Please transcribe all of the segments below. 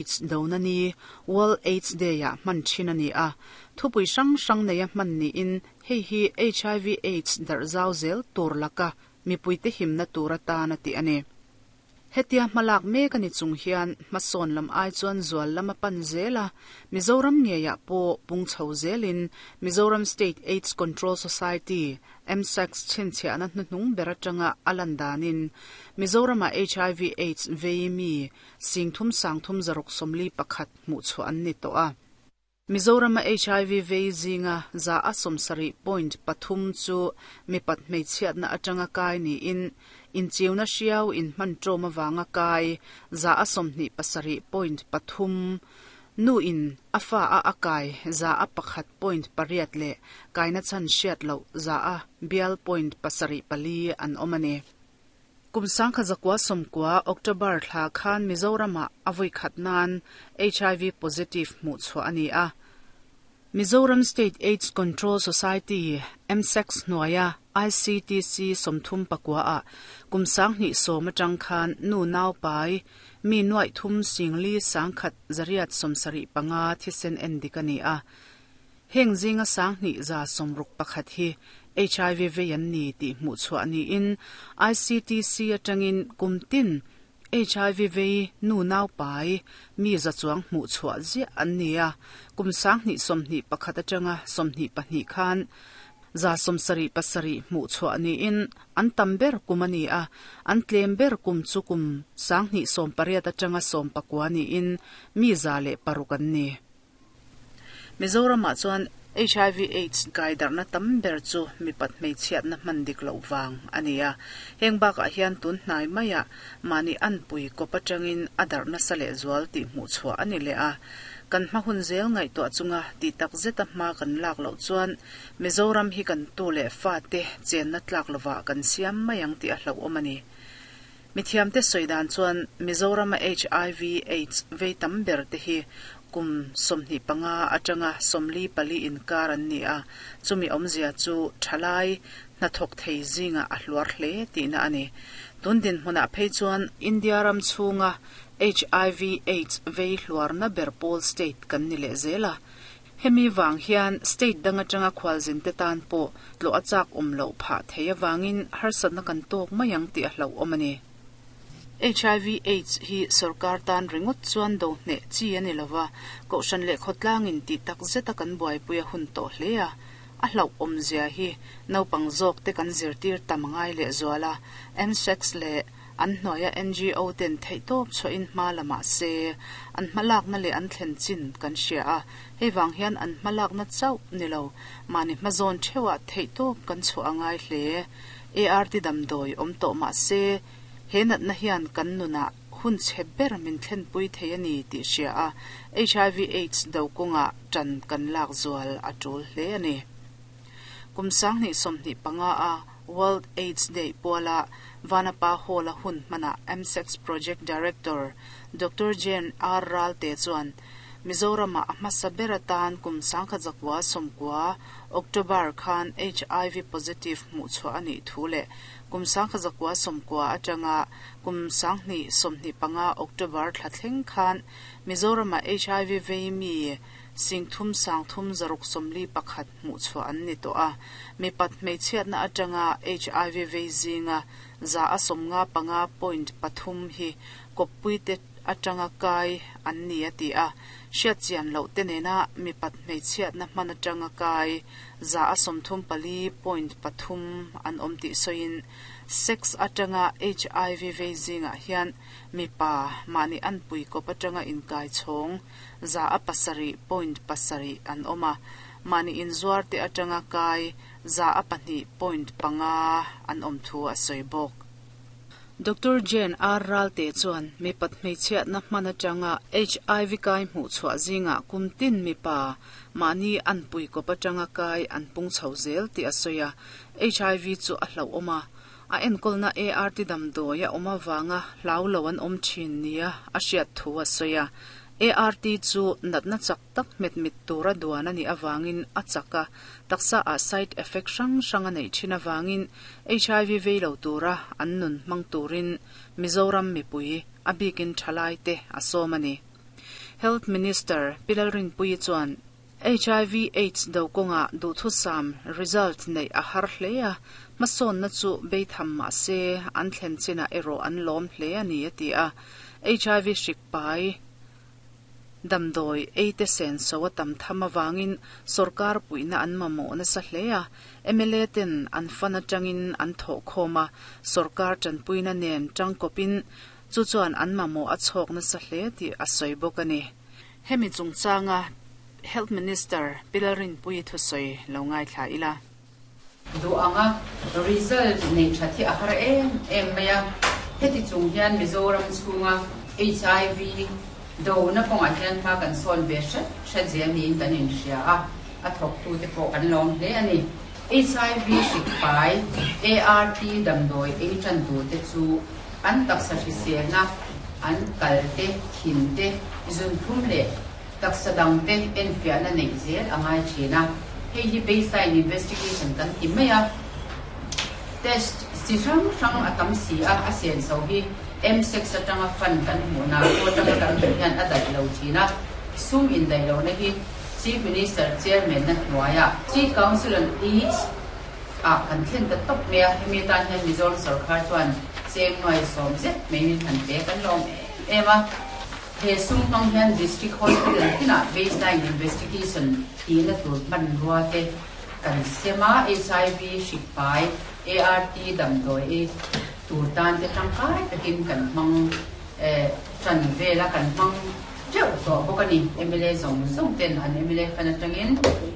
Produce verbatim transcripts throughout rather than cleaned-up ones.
AIDS dona ni World AIDS Day ah hman thin ani a thupui hrang hrang nei a hman niin hei hi H I V AIDS darh zau zel tur laka mipui te himna tur atan a ti ani. Hetia hmalak mek ani chung hian hmasawn lam ai chuan zual lama pan zela Mizoram ngeia pawh pung chho zelin Mizoram State AIDS Control Society M S A C chhinchhiahna hnuhnung ber atanga a lan danin Mizorama H I V AIDS vei mi singthum sangthum zaruk sawmli pakhat hmuh chhuah an ni tawh a. Mizorama H I V vei zinga za a sawmsarih point pathum chu mipat hmeichhiatna atanga kai niin inchiuna hriau in hman tawm awanga kai za a sawmhnih pasarih point pathum, nu in a fa a akai za a pakhat point pariat leh kaina chan hriat loh za a bial point pasarih pali an awm ani. Kum sangkha zakua sawmkua October thla khan Mizorama a vawi khat nan H I V positive hmuh chhuah ani a. Mizoram State AIDS Control Society M S A C hnuaia I C T C sawmthum pakua a kum sanghnih sawm atang khan nu nau pai mi nuai thum singli sangkhat zariat sawmsarih panga thisen en dik ani a. Heng zinga sanghnih za sawmruk pakhat hi H I V vei an ni tih hmuh chhuah niin I C T C atangin kumtin H I V vei nu nau pai mi za chuang hmuh chhuah ziah an ni a. Kum sanghnih sawmhnih pakhat atanga sawmhnih pahnih khan za sawmsarih pasarih hmuh chhuah niin an tam ber kum ani a. An tlem ber kum chu kum sanghnih sawm pariat atanga sawm pakua niin mi za leh paruk an ni. Mizoramah chuan H I V AIDS kai darhna tam ber chu mipat hmeichhiatna hman dik loh vang ani a. Heng bakah hian tun hnai maiah mahni anpui kawp atangin a darhna sa leh zual tih hmuh chhuah ani leh a. Kan hma hun zel ngaihtuah chunga ti tak zeta hma kan lak loh chuan Mizoram hi kan tu leh fa te chenna tlak lova kan siam mai ang tih a hlauhawm ani. Mithiamte sawidan chuan Mizorama H I V AIDS vei tam ber te hi kum sawmhnih panga atanga sawmli pali inkar an ni a. Chumi awmzia chu thalai hnathawk thei zinga a hluar hle tihna ani. Tundin hmunah phei chuan India ram chhunga H I V AIDS vei hluarna ber pawl state kan ni leh zela. Hemi wang hian state dang atanga khwalzin te tan pawh tlo a chak awm loh phah thei awangin harsatna kan tawk mai ang tih a hlauhawm ani. H I V AIDS hi sarkar tan ringot chuan do hne chi ani lova kohhran leh khawtlangin ti tak zeta kan buaipui a hun tawh hle a. A hlauhawm zia hi naupang zawk te kan zirtir tam ngai leh zuala. M S A C leh an hnuaia N G O ten theihtawp chhuahin hma lamah se an hmalakna leh an thlen chin kan hria a. Hei wang hian an hmalakna chauh nilo mahni hmazawn theuhah theihtawp kan chhuah angai hle. A R T damdawi awm tawh mah se he natna hian kan nunah hun chhe ber min thlenpui thei ani tih hria a H I V AIDS do kawngah tan kan lak zual a tul hle ani. Kum sanghnih sawmhnih panga a World AIDS Day puala Vanapa Hall a hun hmana M S A C Project Director Doctor Jane R Ralte chuan Mizorama a hmasa ber atan kum sangkha zakua sawmkua October khan H I V positive hmuh chhuah ani thu leh kum sangkha zakua sawmkua atanga kum sanghnih sawmhnih panga October thla thleng khan Mizorama H I V vei mi singthum sangthum zaruk sawmli pakhat hmuh chhuah an ni tawh a. Mipat hmeichhiatna atanga H I V vei zinga za a sawmnga panga point pathum hi kawppui te atanga kai an ni a ti a. Hriat chian loh te nena mipat hmeichhiatna hman atanga kai za a sawmthum pali point pathum an awm tih sawiin sex atanga H I V vei zingah hian mipa mahni anpui kawp atanga inkai chhawng za a pasarih point pasarih an awm a. Mahni inzuar te atanga kai za a pahnih point panga an awm thu a sawi bawk. Doctor Jane R Ralte chuan mipat hmeichhiatna hman atanga H I V kai hmuh chhuah zinga kumtin mipa mahni anpui kawp atanga kai an pung chho zel tih a sawi a. H I V chu a hlauhawm a, a enkawlna A R T damdawi a awm awanga hlau lo an awm thin nia a hriat thu a sawi a. A R T chu natna chak tak hmet mit tura duan ani awangin a chaka taksa a side effect hrang hrang a nei thin awangin H I V vei lo tura an nun hmang turin Mizoram mipui a bikin thalai te a sawm ani. Health Minister Pi Lalrinpuii chuan H I V AIDS do kawnga duhthusam result neih a har hle a, hmasawnna chu beitham mah se an thlen chinah erawh an lawm hle a ni a ti a. H I V hrik pai damdawi ei te sen so a tam tham awangin sorkar puihna an mamawh nasa hle a, M L A ten an fan atangin an thawh khawm a, sorkar tanpuina nen tangkawpin chu chuan an mamawh a chhawk nasa hle tih a sawi bawk a ni. Hemi chungchanga Health Minister Pi Lalrinpuii thusawi lo ngaithla ila. Du anga result nei that hi a har em em mai a. Heti chung hian Mizoram chhunga H I V do na kawngah hian hma kan sawn ve hret hret zel niin kan inhria a, a thawk tu te pawh kan lawm hle a ni. H I V hrik pai A R T damdawi ei tan tu te chu an taksa hriselna, an kal te, thin te, zunthum leh taksa dang te enfiahna neih zel a ngai thin a. Hei hi baseline investigation kan ti mai a. Test chi hrang hrang a tam si a, a sen so hi M six atanga fund kan hmuh na ko atanga kan hmuh hian a daih lo thin a. Sum in daih lo na hi Chief Minister chairman na hnuaia Chief Council on AIDS a kan thlen ta top mai a. Hemi tan hian Mizoram sarkar chuan cheng nuai sawm zet mai min han pe, kan lawm em em a. He sum hmang hian district hospital tinah baseline investigation tina tur hman rua te kan sema, H I V hrik pai A R T damdawi ei tur tan te tangkai takin kan hmang tran vela, kan hmang teuh tawh bawk a ni. M L A zawng zawng ten an M L A fan atangin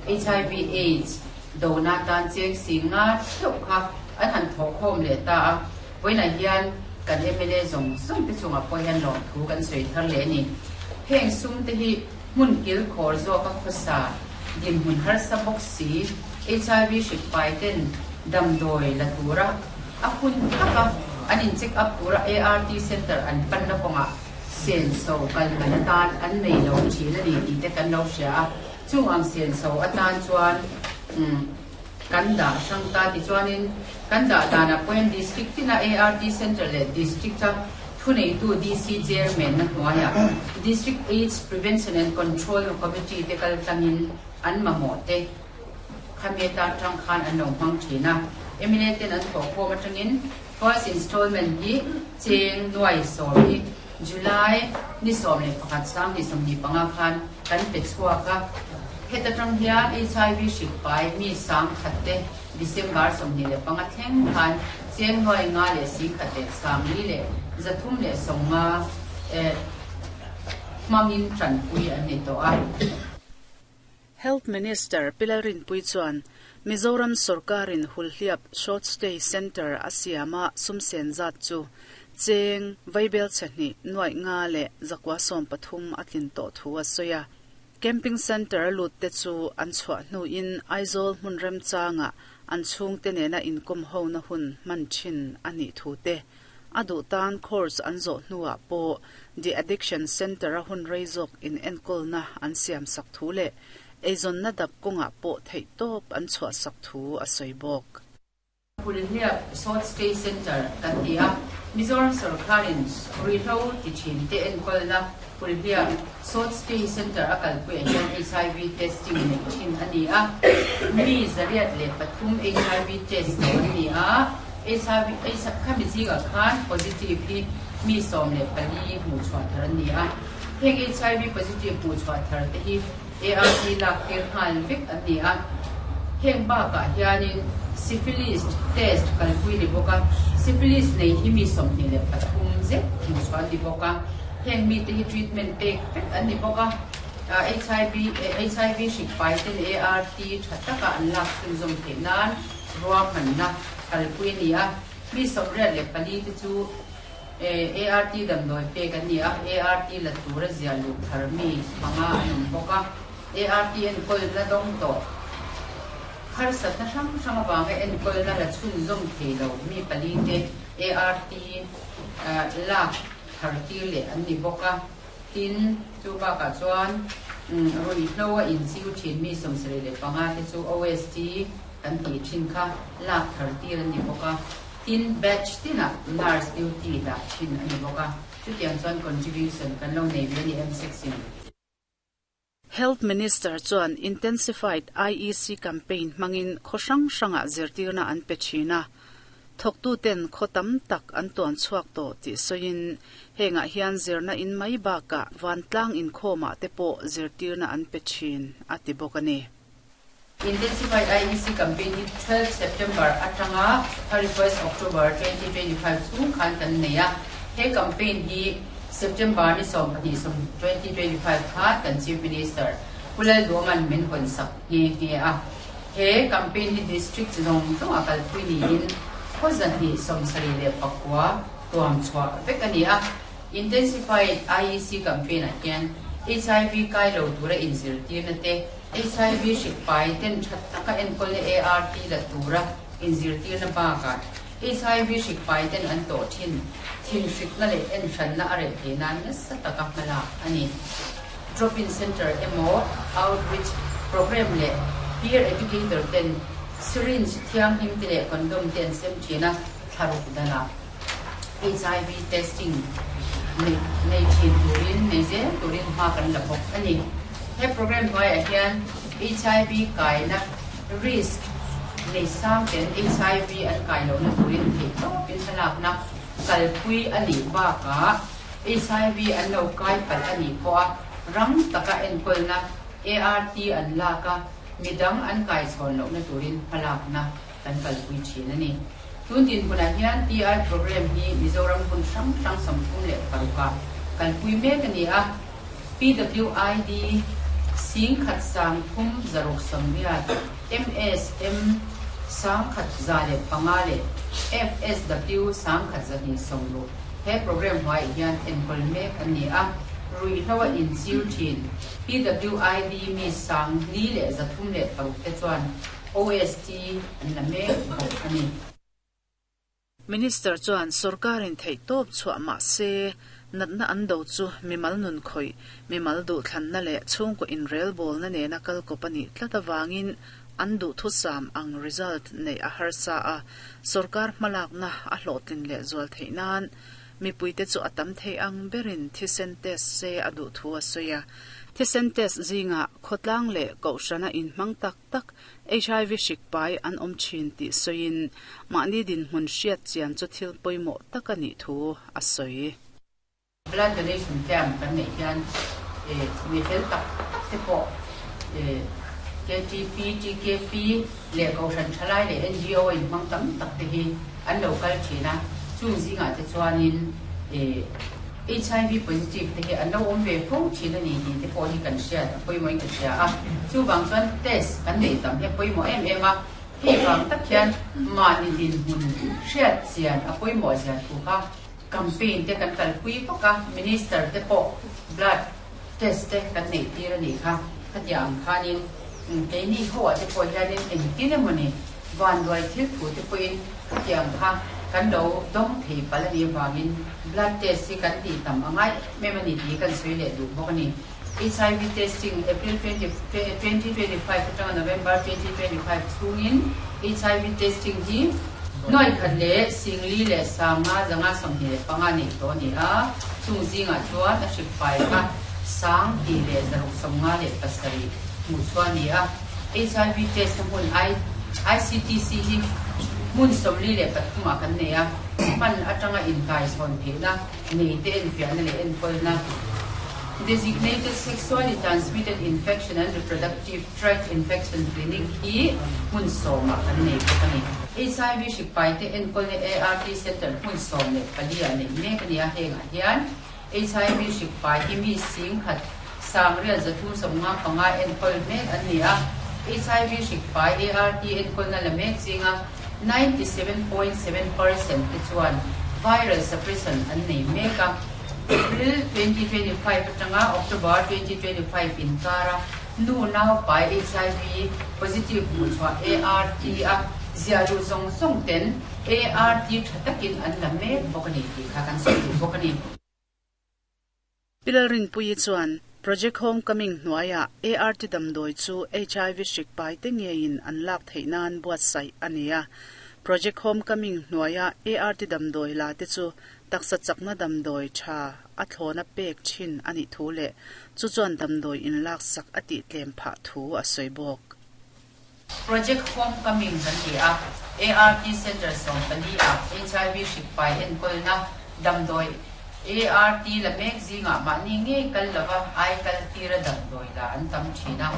H I V AIDS do na tan cheng singa theuh kha an han thawh khawm leh ta a. Vawiinah hian kan M L A zawng zawng te chungah pawh hian lawm thu kan sawi thar leh ni. Heng sum te hi hmun kil khawr zawk a khawsa, dinhmun harsa bawk si, H I V hrik pai ten damdawi la tura a hun taka an in check up tura A R T center an pan na kawngah sen so kal man atan an nei lo thin a ni tih te kan lo hria a. Chung ang sen so atan chuan kan dah hrang ta. Ti chuanin kan dah danah pawhin district tina A R T center leh district a thuneitu D C chairman na hnuaia District AIDS Prevention and Control Committee te kal tlangin an mamawh te khami atan tang khan an lo hmang thin a. M L A ten an thawh khawm atangin first installment hi cheng nuai sawm hi July ni sawm leh pakhat sang ni sawmhnih panga khan kan pe chhuak a. Heta tang hian H I V hrik pai mi sang khat te December sawmhnih leh panga thleng khan cheng nuai nga leh sing khat leh sangli leh zathum leh sawmnga hmangin tanpui an ni tawh a. Health Minister Pi Lalrinpuii chuan Mizoram Sarkarin Hulhliap Short Stay Center a siama sumsen zat chu cheng vaibel chhani nuai nga leh zakwa sawm pathum a tlin tawh thu a sawi a. Camping center lut te chu an chhuah hnu in Aizawl hmun rem changa an chhung te nena inkom ho na hun hman thin ani thu te, a duh tan course an zawh hnuah pawh The Addiction Center a hun rei zawk in enkawl na an siam sak thu leh eizawn na dap kawngah pawh theih tawp an chhuah sak thu a sawi bawk. Hulhliap Short Stay Center kan ti a. Mizoram sarkarin ruihhlo ti thin te enkawlna Hulhliap Short Stay Center a kalpui ah hian H I V testing nei thin a ni a. Mi zariat leh pathum H I V test to an ni a. H I V khami zinga khan positive hi mi sawm leh pali hmuh chhuah thar an ni a. Heng H I V positive hmuh chhuah thar te hi A R T lak tir nghal vek an ni a. Heng bakah hianin syphilis test kalpui ni bawk a. Syphilis nei hi mi sawmhnih leh pathum zet hmuh chhuah an ni bawk a. Heng mi te hi treatment pek vek an ni bawk a. H I V H I V hrik pai ten A R T tha taka an lak chhunzawm theih nan ruahmanna kalpui ni a. Mi sawmriat leh pali te chu A R T damdawi pek an ni a. A R T la tura zia luh thar mi panga an awm bawk a. A R T enkawl na dawng tawh, harsat na hrang hrang awanga enkawl na la chhunzawm thei lo mi pali te A R T lak thar tir leh an ni bawk a. Tin, chu bakah chuan ruihhlo a inchiu thin mi sawmsarih leh panga te chu O S T kan tih thin kha lak thar tir an ni bawk a. Tin, batch tinah nurse duty dah thin a ni bawk a. Chutiang chuan contribution kan lo nei ve ni M six in. Health Minister chuan Intensified I E C campaign hmangin khaw hrang hranga zirtirna an pe thin a, thawktu ten khaw tam tak an tuan chhuak tawh tih sawiin hengah hian zirna in mai bakah vantlang inkhawmah te pawh zirtirna an pe thin a ti bawk a ni. Intensified I E C campaign hi twelve September atanga thirty-first October twenty twenty-five chung khan kan nei a. He campaign hi September ni sawm pahnih sawm twenty twenty-five khan kan Chief Minister Pu Lalduhoma'n min hawn sak nghe nghe a. He campaign hi district zawng zawng a kalpui niin khaw zahnih sawm sarih leh pakua tuam chhuah vek a ni a. Intensified I E C campaign ah hian H I V kai lo tura inzirtirna te, H I V hrik pai ten that taka enkawl na A R T la tura inzirtirna bakah H I V hrik pai ten an tawh thin thin hrikna leh en hranna a reh thei nan nasa taka hmalak a ni. Drop-in center emaw outreach program leh peer educator ten syringe thianghlim te leh condom te an sem thin a. Thlaruk dana H I V testing nei nei thin turin nei zel turin hma kan la bawk a ni. He program hnuaiah hian H I V kaina risk nei sang ten H I V an kai lohna turin theih tawpin hmalakna kalpui a nih bakah H I V an lo kai palh a nih pawh a rang taka enkawlna A R T an lak a, midang an kai chhawn lohna turin hmalakna kan kalpui thin a ni. Tun din hunah hian T I program hi Mizoram hmun hrang hrang sawmthum leh parukah kalpui mek a ni a. P W I D sing khat sang thum zaruk sawmriat, M S M sang khat za leh panga leh F S W sang khat zahnih sawmruk he program hnuaiah hian enkawl mek an ni a. Ruihhlo a inchir thin P W I D mi sang li leh zathum leh paruk te chuan O S T an la mek bawk a ni. Minister chuan sorkarin theih tawp chhuah mah se natna an do chu mimal nun khawih mimal duh thlanna leh chhungkaw inrelbawlna nena kal kawp a nih tlat awangin an duh thusam ang result nei a harsa a, sorkar hmalakna a hlawhtlin leh zual theih nan mipuite chu a tam thei ang berin thisen test se a duh thu a sawi a. Thisen test zinga khawtlang leh kohhrana inhmang tak tak H I V hrik pai an awm thin tih sawiin mahni dinhmun hriat chian chu thil pawimawh tak a nih thu a sawi. Blood donation camp kan nei hian eh mi fel tak tak te pawh eh K T P, T K P leh kohhran thalai leh N G O inhmang tam tak te hi an lo kal thin a. Chung zingah te chuanin eh H I V positive te hi an lo awm ve fo thin a ni tih te pawh hi kan hriat a pawimawhin ka hria a. Chuvang chuan test kan nei tam hi a pawimawh em em a. Hei vang tak hian mahni dinhmun hriat chian a pawimawh zia thu kha campaign te kan kalpui vak a. Minister te pawh blood test te kan neih tir a nih kha. Khatiang ang khanin keini ho ah te pawh hianin engtin emawni vanduai thil thu te pawhin khatiang kha kan lo dawng thei palh a nih avangin blood test hi kan tih tam a ngai em a ni tih kan sawi leh duh bawk a ni. H I V testing April twenty twenty twenty-five atanga November twenty twenty-five chhungin H I V testing hi nuai khat leh singli leh sanga zanga sawmhnih leh panga nei tawh a ni a. Chung zingah chuan a hrik pai kha sang hnih leh zaruk sawmnga leh pasarih hmuh chhuah a ni a. H I V test na hmun I C T C hi hmun sawmli leh pathumah kan nei a. Hman atanga inkai chhawn theihna nei te enfiahna leh enkawlna Designated Sexually Transmitted Infection and Reproductive Tract Infection Clinic hi hmun sawmah kan nei bawk a ni. H I V hrik pai te enkawlna A R T Center hmun sawm leh pali ah nei mek a ni a. Hengah hian H I V hrik pai hi mi sing khat sangriat zathum sawmnga panga enkawl mek an ni a. H I V hrik pai A R T enkawlna la mek zinga ninety-seven point seven percent te chuan viral suppression an nei mek a. April twenty twenty-five atanga October twenty twenty-five inkara nu nau pai H I V positive hmuh chhuah A R T a ziahluh zawng zawng ten A R T tha takin an la mek bawk a ni tih kha kan sawi duh bawk a ni. Pi Lalrinpuii chuan Project Homecoming hnuaiah A R T damdawi chu H I V hrik pai te ngeiin an lak theih nan buatsaih a ni a. Project Homecoming hnuaiah A R T damdawi la te chu Taksa chakna damdawi tha a thlawna pek thin ani thu le chu chuan damdawi in lak sak ati tlem pha thu a sawi bawk. Project Homecoming kan ti a A R T Center som pali a H I V hrik pai enkolna damdawi A R T la mek zinga mahni nge kal lova ai kal tira damdawi la an tam thina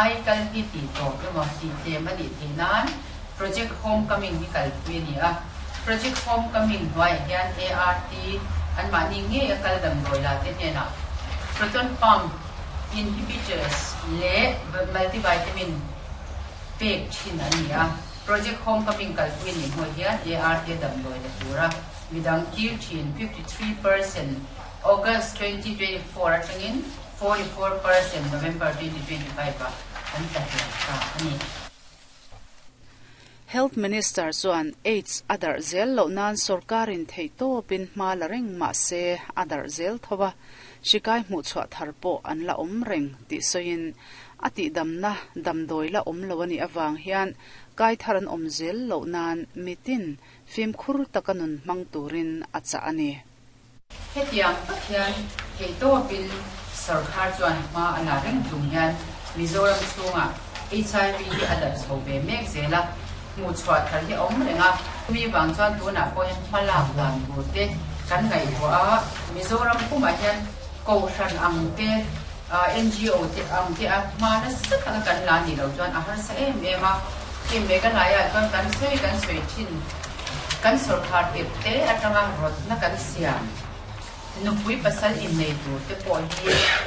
ai kal ti ti to emaw ti tlem ani theinan Project Homecoming hi kal pui ani a. Project Homecoming hnuai hian A R T an mahni nge a kal damdawi la te hnena proton pump inhibitors le multivitamin pek thin ani a. Project Homecoming kalpui ni hnuai hian A R T damdawi la tura midang kir thin fifty-three percent August twenty twenty-four atangin forty-four percent November twenty twenty-five a an ta hian ta ani. Health Minister chuan AIDS adar zel lo nan sarkarin thei to pin hma la reng ma se adar zel thowa shikai mu chwa tharpo an la om reng ti soin ati damna damdoi la om lo ani awang hian kai tharan om zel lo nan mitin fim khur takanun mang turin acha ani. Hetiang tak hian thei to pin sarkar chuan hma ala reng chung hian Mizoram chunga H I V hi adar chho ve mek zela mu chhuat thar hi om renga mi wang chuan tuna pawh hian hmalak dan tur te kan ngai ho a. Mizoram puma hian ko hran ang te N G O te ang te a hma na sak kan la ni lo chuan a har sa em em a ki me kan lai a chuan kan soi kan soi thin kan sarkar te te atanga rot na kan siam nupui pasal in nei tur te pawh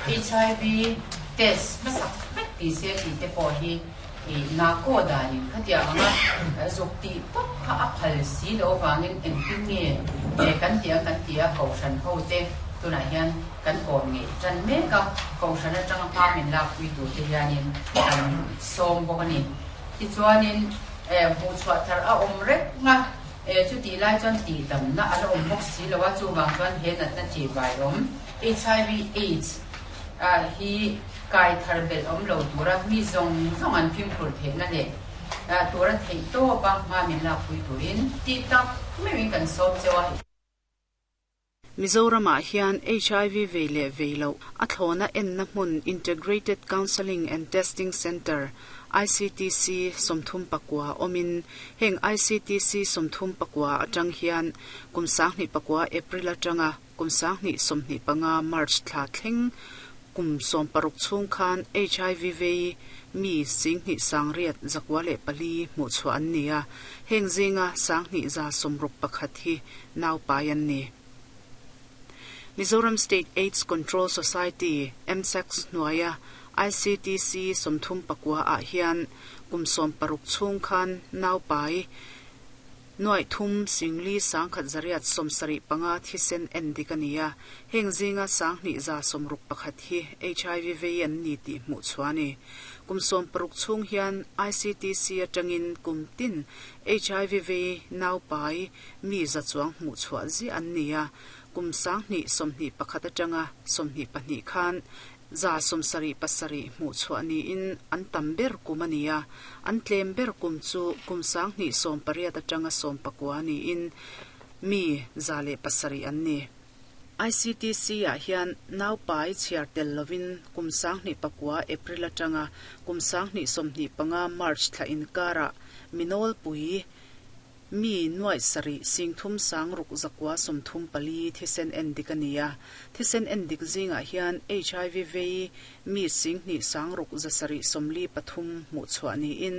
hi H I V test ma sak vek ti se ti te pawh hi i na ko danin khatia anga zuk ti pop kha a phal si lo wangin engtin nge e kan tia kan tia ko shan ho te tuna hian kan kom nge chan me ka ko shan atanga pa min lak pui tu te hianin kan som bawk ani. Ti chuanin e mu chhuah thar a om rek nga e chu ti lai chuan ti dam na ala om bawk si lo wa chu wang chuan he nat na chi bai om H I V AIDS a hi kai thar bel om lo tura mi zong zong an phim phur the na le a tura thei to pa ma min la pui turin ti tak me wing kan som chewa. Mizoram ah hian H I V vei leh vei lo a thlawna en na hmun Integrated Counselling and Testing Center I C T C sawmthum pakua awmin heng I C T C sawmthum pakua atang hian kum sanghnih pakua April atanga kum sanghnih sawmhnih panga March thla thleng kum sawm paruk chhung khan H I V vei mi singhnih sangriat zakwa leh pali hmuh chhuah an ni a. Heng zinga sanghnih za sawmruk pakhat hi nau pai an ni. Mizoram State AIDS Control Society M S A C S hnuaia I C T C sawmthum pakua ah hian kum sawm paruk chhung khan nau pai nuai thum singli sangkhat zariat sawmsarih panga thisen en dik ani a. Heng zinga sanghnih za sawmruk pakhat hi H I V vei an ni tih hmuh chhuah ani. Kum sawm paruk chhung hian I C T C atangin kum tin H I V vei nau pai mi za chuang hmuh chhuah zi an ni a. Kum sanghnih sawmhnih pakhat atanga sawmhnih pahnih khan za sawmsarih pasarih hmuh chhuah niin an tam ber kum ani a. An tlem ber kum chu kum sanghnih sawm pariat atanga sawm pakua niin mi za leh pasarih an ni. I C T C ah hian nau pai chhiar tel lovin kum sanghnih pakua April atanga kum sanghnih sawmhnih panga March thla inkara minol pui mi nuai sarih singthum sangruk zakwa sawmthum pali thisen en dik ani a. Thisen en dik zingah hian H I V vei mi singhnih sangruk zasarih sawmli pathum hmuh chhuah niin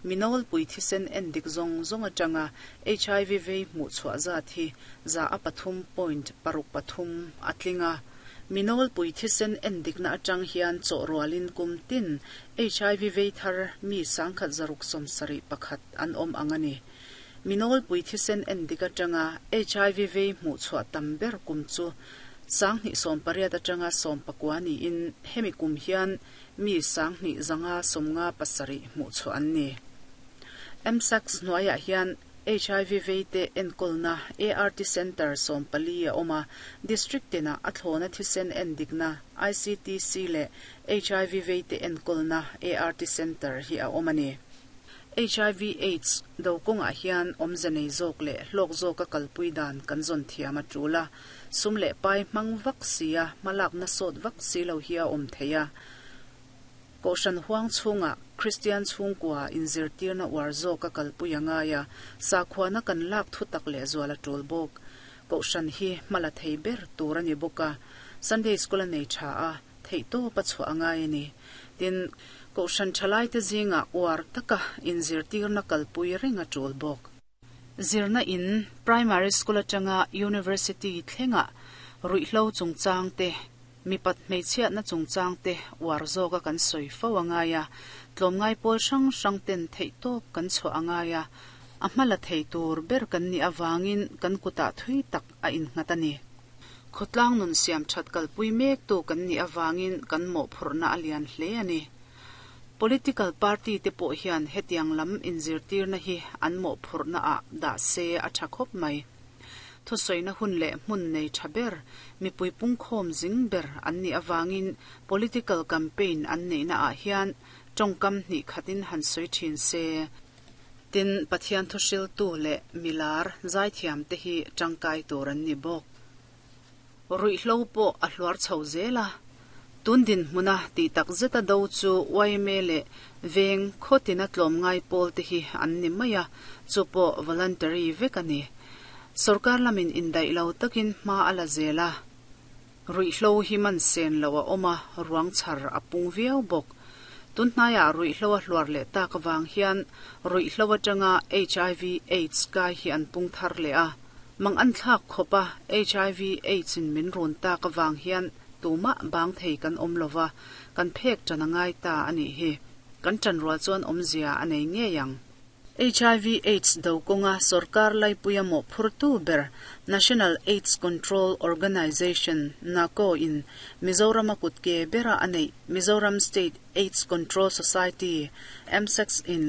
minol pui thisen en dik zawng zawng atanga H I V vei hmuh chhuah zat hi za a pathum point paruk pathum a tlinga. Minol pui thisen en dikna atang hian chaw rualin kum tin H I V vei thar mi sangkhat zaruk sawmsarih pakhat an awm ang ani. Minol pui thisen en dik atanga H I V vei hmuh chhuah tam ber kum chu sanghnih sawm pariat atanga sawm pakua niin hemi kum hian mi sanghnih zanga sawmnga pasarih hmuh chhuah an ni. M S A C S hnuaiah hian H I V vei te enkolna A R T Center sawm pali a awm a. District tina a thlawna thisen en dikna I C T C leh H I V vei te enkolna A R T Center hi a awm ani. H I V AIDS do kawngah hian awmze nei zawk leh hlawk zawka kalpui dan kan zawn thiam a tul a, sum leh pai hmang vak sia hmalakna sawt vak si lo hi a awm thei a. Kohhran huang chhungah Kristian chhungkua inzirtirna uar zawka kalpui a ngai a, sakhuana kan lak thu tak leh zual a tul bawk. Kohhran hi hmala thei ber tur a ni bawk a, Sunday School a nei tha a, theih tawp a chhuah a ngai a ni. Tin, kohhran thalai te zingah uar taka inzirtirna kalpui reng a tul bawk. Zirna in primary school atanga university thlenga ruihhlo chungchang te, mipat hmeichhiatna chungchang te uar zawka kan sawi fo a ngai a, tlawmngai pawl hrang hrang ten theih tawp kan chhuah a ngai a, a hmala thei tur ber kan nih avangin kan kutah thui tak a innghat a ni. Khawtlang nun siam that kalpui mek tu kan nih avangin kan mawhphurhna a lian hle a ni. Political party te pawh hian hetiang lam inzirtirna hi an mawhphurhna ah dah se a tha khawp mai. Thusawina hun leh hmun nei tha ber, mipui pungkhawm zing ber an nih avangin political campaign an neihna ah hian tawngkam hnih khatin han sawi thin se. Tin, Pathian thuhriltu leh milar zaithiam te hi tangkai tur an ni bawk. Ruihhlo pawh a hluar chho zel a, tun dinhmuna tih tak zeta do chu Y M A leh veng khawtina tlawmngai pawl te hi an ni mai a, chu pawh voluntary vek a ni. Sorkar lamin indaih lo takin hma a la zel a, ruihhlo hi man sen lo a awm a, ruang chhar a pung viau bawk. Tunhnaiah ruihhlo a hluar leh tak avang hian ruihhlo atanga H I V AIDS kai hi an pung thar leh a, mang an thlak khawp a H I V AIDS in min run tak avang hian tumah bang thei kan awm lova, kan phek ṭan a ngai ta a nih hi. Kan ṭan rual chuan awmzia a nei ngei ang. H I V AIDS do kawnga sorkar laipuia mawhphurtu ber National AIDS Control Organization NACO in Mizoram a kutke bera a neih Mizoram State AIDS Control Society M S A C S in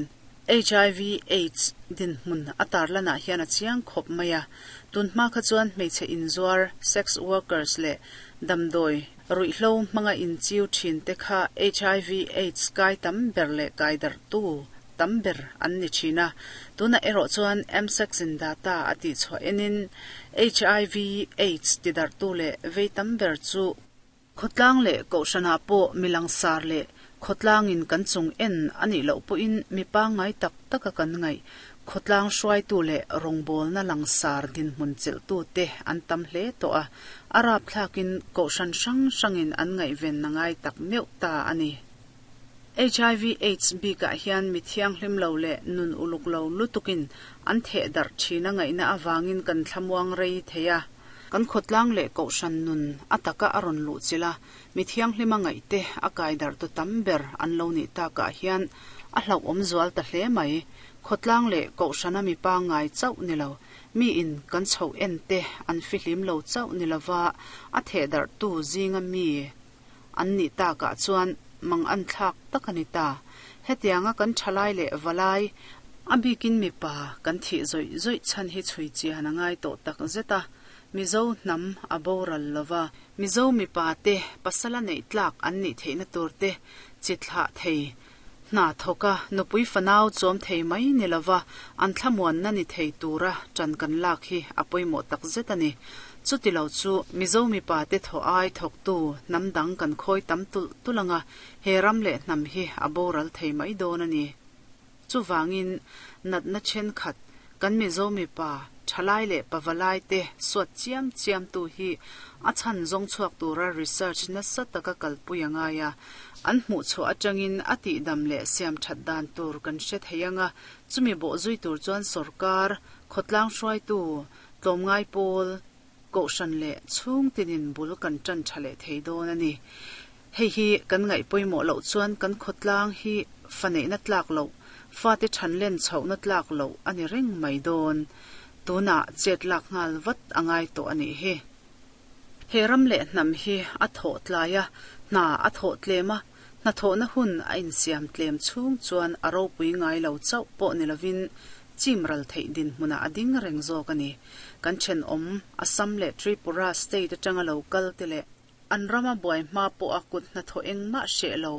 H I V AIDS dinhmun a tarlanah hian a chiang khawp mai a. Tunhma kha chuan hmeichhe inzuar, sex workers leh damdawi ruihhlo hmanga inchiu thin te kha H I V AIDS kai tam ber leh kai darhtu tam ber an ni thin a. Tuna erawh chuan M S A C S in data a tih chhuah enin H I V AIDS tidarhtu leh vei tam ber chu khawtlang leh kohhranah pawh milangsar leh khawtlangin kan chung en anih loh pawhin mi pangngai tak taka kan ngaih khawtlang hruaitu leh rawngbawlna langsar dinhmun chelhtu te an tam hle tawh a, a rapthlakin kohhran hrang hrangin an ngaihven a ngai tak meuh ta a ni. H I V AIDS bikah hian mi thianghlim lo leh nun uluk lo lutukin an theh darh thin a ngaihna avangin kan thlamuang rei thei a. Kan khawtlang leh kohhran nun a taka a rawn luh chilh a, mi thianghlim a ngaih te a kai darh tu tam ber an lo nih takah hian a hlauhawm zual ta hle mai. Khawtlang leh kohhrana mi pangngai chauh ni lo, mi in kan chhoh en te an fihlim lo chauh ni lova a theh darh tu zinga mi an nih takah chuan mang an thlak tak a ni ta. Hetianga kan thalai leh valai, a bikin mipa kan thih zawih zawih chhan hi chhui chian a ngai tawh tak zet a. Mizo hnam a boral lova, Mizo mipa te pasala neih tlak an nih theihna tur te, chi thlah thei, hna thawka nupui fanau chawm thei mai ni lova an thlamuanna ni thei tura ṭan kan lak hi a pawimawh tak zet a ni. Chuti lo chu Mizo mipa te thaw ai thawktu hnam dang kan khawi tam tulh tulh anga, he ram leh hnam hi a boral thei mai dawn a ni. Chuvangin natna thenkhat kan Mizo mipa thalai leh pavalai te suat chiam chiam tu hi a chhan zawng chhuak tura research nasa taka kalpui a ngai a, an hmuh chhuah atangin a tihdam leh siam that dan tur kan hre thei anga, chumi bawh zui tur chuan sorkar, khawtlang hruaitu, tlawmngai pawl, kohhran leh chhung tinin bul kan ṭan tha leh thei dawn a ni. Hei hi kan ngaih pawimawh loh chuan kan khawtlang hi fa neihna tlak loh, fate ṭhan len chhohna tlak loh a ni reng mai dawn. Tunah chet lak nghal vat a ngai tawh a nih hi. He ram leh hnam hi a thawh tlai a, hna a thawh tlem a, hna thawhna hun a insiam tlem chhung chuan a ropui ngai lo chauh pawh ni lovin chim ral theih dinhmunah a ding reng zawk a ni. Kan thenawm Assam leh Tripura state atanga lo kal te leh An rama buai hma pawh a kut hnathawh engmah hreh lo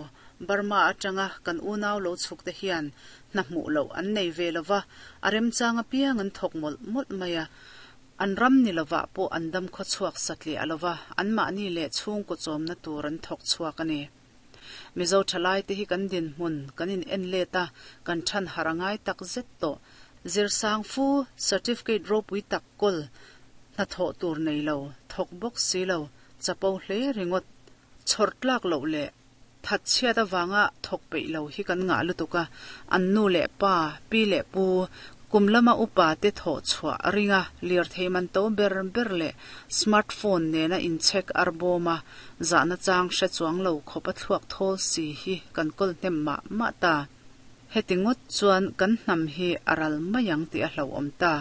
Burma atanga kan unau lo chhuk te hian hna hmuh loh an nei ve lova, a remchang apiang an thawk mawlh mawlh mai a. An ram ni lovah pawh an dam khaw chhuak satliah lova, anmahni leh chhungkaw chawmna tur an thawk chhuak a ni. Mizo thalai te hi kan dinhmun kan in en let a, kan than har a ngai tak zet tawh. Zirsang fu certificate ropui tak kawl hnathawh tur nei lo, thawk bawk si lo, chapo hle ringawt, chhawr tlak loh leh thatchhiat avanga thawk peih lo hi kan ngah lutuk a, an nu leh pa, pi leh pu, kum lama upa te thawh chhuah a ring a, lirthei man to ber ber leh smartphone nena inchhek ar bawm a, zahna chang hre chuang lo khawp a thluak thawl si hi kan kawl hnem mah mah ta. Heti ngawt chuan kan hnam hi a ral mai ang tih a hlauhawm ta.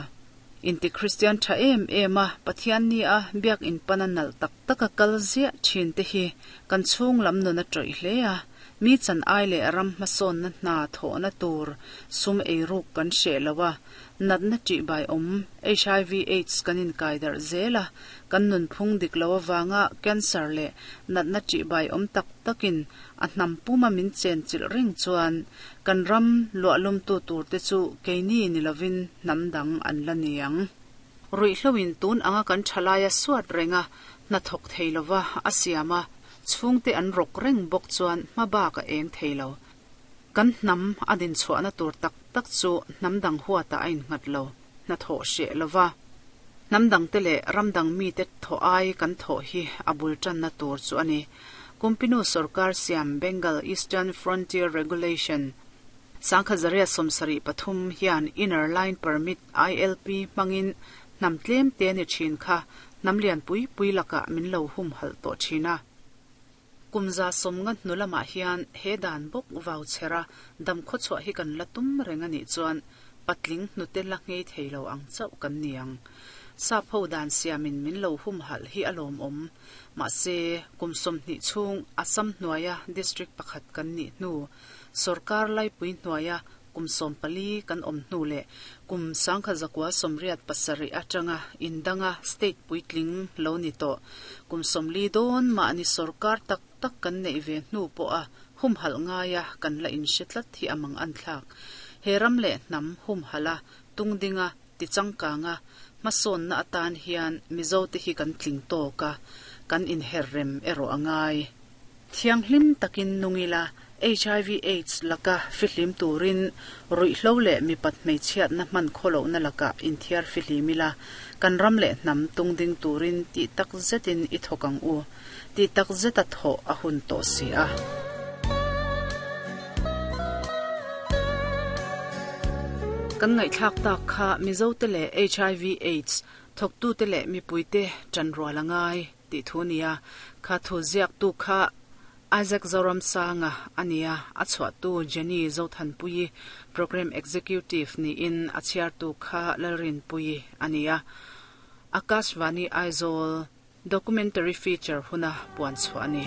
Inti Kristian tha em em a, Pathian ni a biak in pan a nalh tak tak a kal ziah thin te hi kan chhung lam nun a tawih hle a, mi chan ai leh ram hmasawnna hna thawhna tur sum eiruk kan hreh lo a, natna tih bai awm H I V AIDS kan inkai darh zel a, kan nunphung dik lo avanga cancer leh natna tih bai awm tak takin a hnam puma min chen chilh reng chuan kan ram luahlumtu tur te chu keini ni lovin hnam dang an la niang. Ruihhloin tun anga kan thalaia suat renga hna thawk thei lova a siam a, chhungte an rawk reng bawk chuan hma bak a eng thei lo. Kan hnam a din chhuahna tur tak tak chu hnam dang huata a innghat lo, hna thawh hreh lova. Hnam dang te leh ram dang mi te thaw ai kan thaw hi a bul tanna tur chu a ni. Kumpinu Sarkar Siam Bengal Eastern Frontier Regulation Sangkha Zaria Sawmsarih pathum hian Inner Line Permit I L P hmangin hnam tlem te ni thin kha hnam lian pui pui lakah min lo hum halh tawh thin a. Kumza sawmnga hnu lamah hian he dan bawk vau chhera dam khaw chhuah hi kan la tum reng a nih chuan patling hnute la ngei thei lo ang chauh kan niang. Sap ho dan siamin min lo hum halh hi a lawm awm. Mahse kum sawmhnih chhung Assam hnuaia district pakhat kan nih hnu Sarkar laipui hnuaia kum sawm pali kan awm hnu leh kum sangkha zakua sawmriat pasarih atanga indanga state puitling lo ni tawh. Kum sawmli dawn mahni sarkar tak tak kan nei ve hnu pawh a hum halh ngaia kan la inhre tlat hi amang an thlak. He ram leh hnam hum hala tungdinga tichangkanga hmasawnna atan hian Mizo te hi kan tling tawk a, kan inher rem erawh a ngai. Thianghlim takin nungila H I V AIDS laka fihlim turin ruihhlo leh mipat hmeichhiatna hman khawlohna laka inthiar fihlimila kan ram leh hnam tungding turin tih tak zetin i thawk ang u, tih tak zeta thaw a hun tawh si a. Kan ngaihthlak tak kha Mizo te leh H I V AIDS thawktu te leh mipui te chanrual a ngai tih thu nia, kha thu ziak tu kha Isaac Zoramsanga ania, a chhuah tu Jenny Zothanpui Program Executive ni in a chhiar tu kha Lalrinpui ania. Akashvani Aizawl documentary feature huna puan chhuah ani.